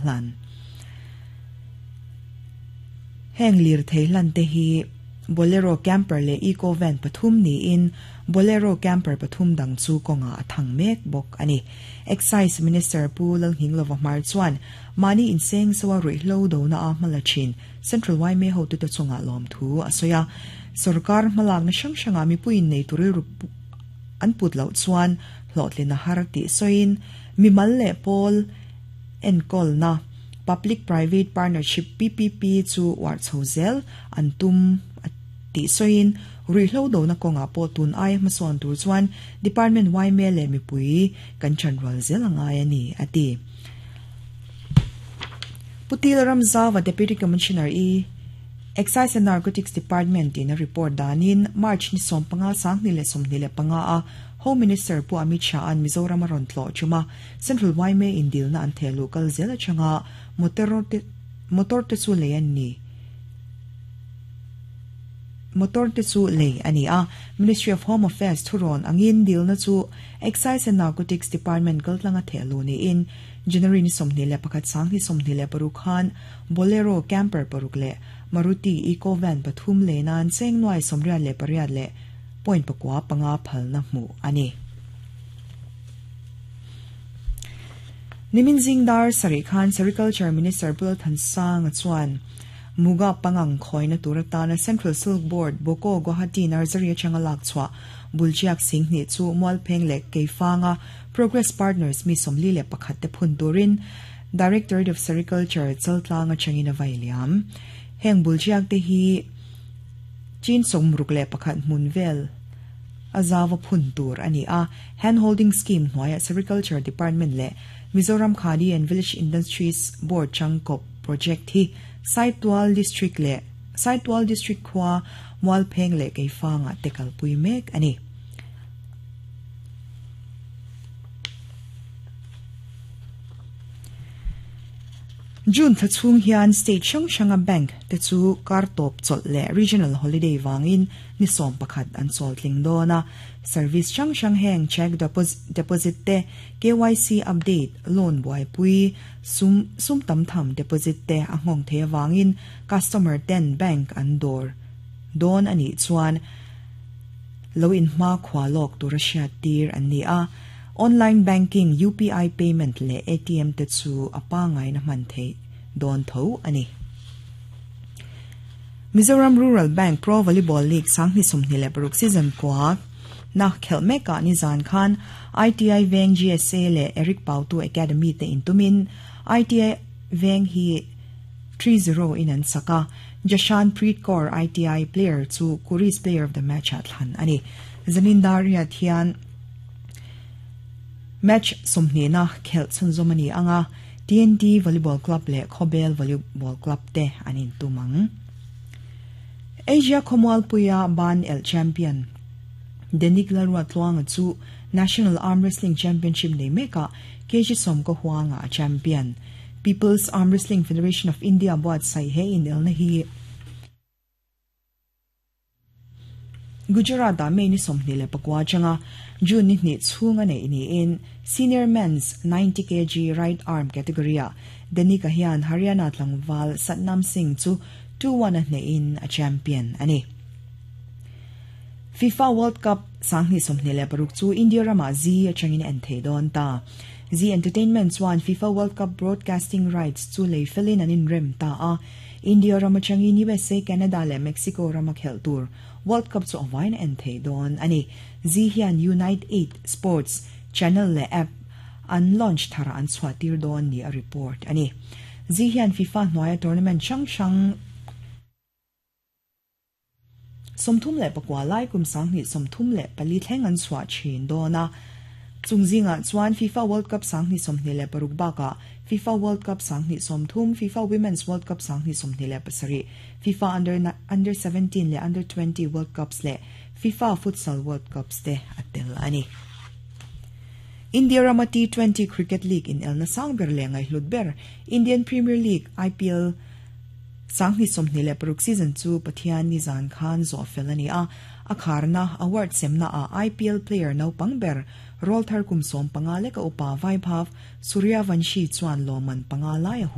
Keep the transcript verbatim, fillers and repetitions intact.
Hlan. Heng lir thei hlan te hi Bolero camper le Eco van pathum ni in Bolero camper pathum dang chu konga athang mek bok ani. Excise Minister Pu Lalnghinglova Hmar chuan mani inseng sawa ruihhlo do na a hmala thin Central Y M A ho tu te chunga lawm thu a sawi a. Sarkar hmalak na hrang hranga mipuiin nei turil an put loh chuan hlawhtlin a har tih sawiin mimal leh pawl enkawlna na Public Private Partnership P P P chu war chho zel an tum tih sawiin ruihhlo do na kawnga pawh tun ai hmasawn tur chuan Department Y M A leh mipui kan chanrual zel angai ani ati. Putil Ramzawa Deputy Commissioner E Excise and Narcotics Department in a report danin March ni som panga sangni le somni le panga a Home Minister Pu Amit Shah an Mizoram ron tlo chuma Central Y M A in dil na an thelu kal zel changa motor te motor te chu le an ni motor te chu le ani a Ministry of Home Affairs thuron angin dil na chu Excise and Narcotics Department kaltlanga thelu ni in January ni somni le pakhat sangni somni le paruk khan Bolero camper paruk le Maruti Eco Van pathum le nan cheng nuai somriat le pariat le point pakwa panga phal na hmu ani. Nimin Zingdar Sari Khan Sericulture Minister Pul Thansang chuan Muga pangang khoina turata na Central Silk Board Boko Guwahati Nursery changalak chwa Bulchiak Singh ni chu Mualpheng le Keifanga Progress Partners mi somli le pakhat te phun turin Directorate of Sericulture chaltlanga changina vailiam heng Bulchiak te hi chin somruk le pakhat munvel azawa phun tur ani a hand holding scheme hnuaia Sericulture Department le Mizoram Khadi and Village Industries Board changkop project hi Saitual District le Saitual District khwa Mualpheng le Keifanga tekal pui mek ani. June thachung hian state hrang hranga bank te chu kar top chawlh le regional holiday wangin ni sawm pakhat an chawl tling dawn a service hrang hrang heng check deposit te K Y C update loan buai pui sum sum tam tham deposit te a nghawng the wangin customer ten bank an dawr dawn ani chuan lo in hma khwa lawk tur a hriat tir an ni a. Online banking U P I payment le A T M te chu apa ngai na man thei don tho ani. Mizoram Rural Bank Pro Volleyball League sangni somni le paruk season kwa na khelme ka ni zan khan I T I Veng G S A le Eric Pautu Academy te intumin I T I Veng hi three zero in an saka Jashan Preet Kaur I T I player chu Kuris player of the match at thlan ani. Zanindaria thian match somni na khel chunzomani anga T N T Volleyball Club le Khobel Volleyball Club te anin tumang. Asia Khomwal Puya Ban El Champion Denik Larwa Tluanga chu National Arm Wrestling Championship nei meka K G Somko Huanga champion People's Arm Wrestling Federation of India buat sai he in el na hi Gujarat da me ni somni le pakwa changa June ni ni chunga nei ni in senior men's ninety kilograms right arm category a Denika hian Haryana tlangwal Satnam Singh chu two one a hne in a champion ani. FIFA World Cup sangni somni le paruk chu India rama Z a changin en thei don ta Z Entertainment chuan FIFA World Cup broadcasting rights chu lei felin an in rem ta a India rama changin U S A Canada le Mexico rama khel tur World Cup chu awain en thei don ani. Z hian Unite eight Sports Channel le app an launch thara an chhuatir don ni a report ani. Z hian FIFA hnuaia tournament hrang hrang somthum le pakwa lai kum sangni somthum le pali thleng an chhuah thin dona chungzinga chuan FIFA World Cup sangni somhni le paruk baka FIFA World Cup sangni somthum FIFA Women's World Cup sangni somhni le pasari FIFA under under seventeen le under twenty World Cups le FIFA Futsal World Cups te atel ani. India Rama T twenty Cricket League in elna sangber le ngai hlutber Indian Premier League I P L sangni somhni le paruk season chu Pathian ni zan khan zo felani a akharna award semna a I P L player no pangber Rawlthar kum sawm panga leka upa Vaibhav Suryavanshi chuan lawmman panga lai a